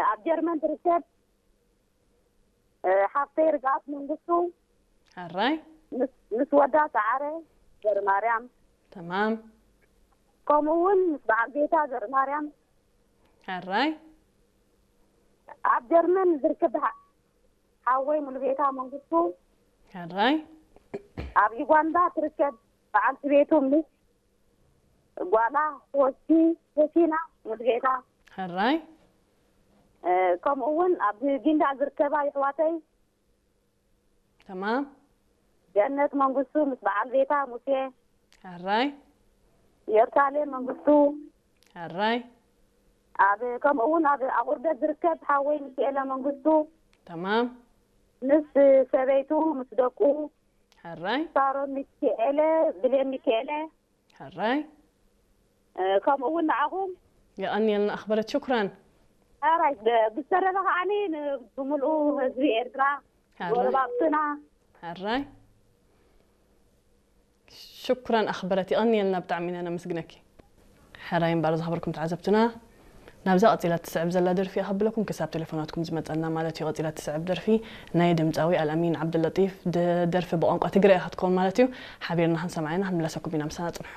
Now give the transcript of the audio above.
ኣብ ጀርመን ትርከብ ሓፍተይ ርግኣት መንግስቱ፣ ሕራይ ምስ ወዳ ሰዓረ ዘርማርያም፣ ተማም ከምኡ እውን ምስ በዓል ቤታ ዘርማርያም፣ ሕራይ ኣብ ጀርመን ዝርከብ ሓወይ ሙሉጌታ መንግስቱ፣ ሕራይ ኣብ ዩጋንዳ ትርከብ በዓልቲ ቤቱ ምስ ጓላ ሆሲ ሆሲና ሙሉጌታ፣ ሕራይ ከምኡ እውን ኣብ ጊንዳዕ ዝርከባ ይሕዋተይ ተማም ገነት መንግስቱ ምስ በዓል ቤታ ሙሴ፣ ሕራይ ኢየሩሳሌም መንግስቱ፣ ሕራይ ኣብ ከምኡ እውን ኣብ ኣቑርደት ዝርከብ ሓወይ ሚካኤለ መንግስቱ ተማም ምስ ሰበይቱ ምስ ደቁ ሕራይ ሳሮን ሚካኤለ፣ ብሌን ሚካኤለ ሕራይ ከምኡ እውን ንዓኹም የቐንየልና ኣኽበረት ሽኩራን። ሕራይ ብዝተረፈ ከዓኒ ብምልኡ ህዝቢ ኤርትራ ጎረባብትና ሕራይ ሽኩራን ኣኽበረት፣ የቐንየልና ብጣዕሚ ኢና ነመስግነኪ። ሕራይ እምበኣር ዝኸበርኩም ተዓዘብትና፣ ናብዛ ቀጺላ ትስዕብ ዘላ ደርፊ እያ ከብለኩም፣ ክሳብ ቴሌፎናትኩም ዝመጸና ማለት እዩ። ቀጺላ ትስዕብ ደርፊ ናይ ድምጻዊ ኣልኣሚን ዓብደለጢፍ ድ- ደርፊ ብቋንቋ ትግረ እያ ክትከውን ማለት እዩ። ሓቢርና ክንሰምዓ ኢና፣ ክንምለሰኩም ኢና፣ ምሳና ጽንሑ።